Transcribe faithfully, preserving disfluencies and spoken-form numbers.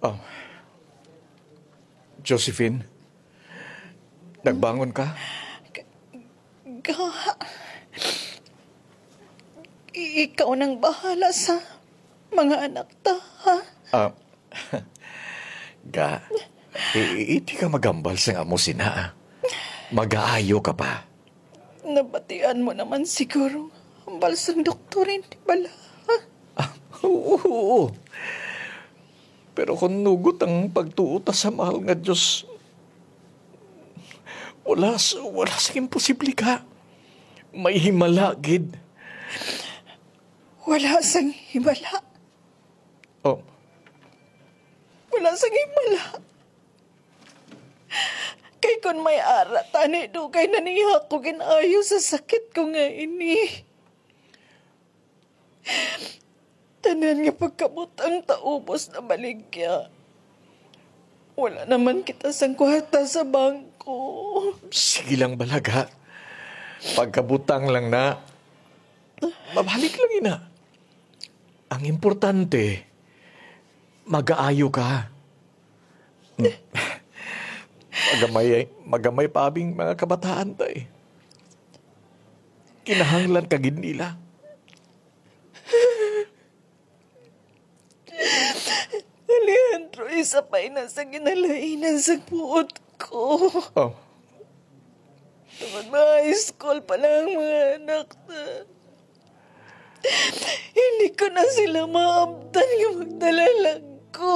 Oh. Josephine, nagbangon ka? Ga, ikaw nang bahala sa mga anak ta, ha? Ah, Ga, i- i- hindi ka magambal sa amo sina. Magaayo ka pa. Nabatian mo naman siguro ang hambal sang doktor, hindi bala? Ah, oo, oo. Pero kung nugot ang pagtuo ta sa mahal nga Dios, wala s-, wala sing imposible ka. May himala gid. Wala sang himala. Oh, Wala sang himala. Kay kung may ara tani, dugay na niya ako ginayo sa sakit ko nga ini. Tanan nga pagkabutang ta ubos na baligya. Wala naman kita sang kwarta sa bangko. Sige lang, bala, Ga. Pagkabutang lang na. Mabalik lang ina. Ang importante, magaayo ka. Magamay, magamay pa abing mga kabataan ta eh. Kinahanglan ka gid nila. Alejandro, isa pa ina sa ginhalainan sa buot ko. Oh, Tungod mga high school pa lang mga anak na. Hindi ko na sila maabtan nga magdala lang ko.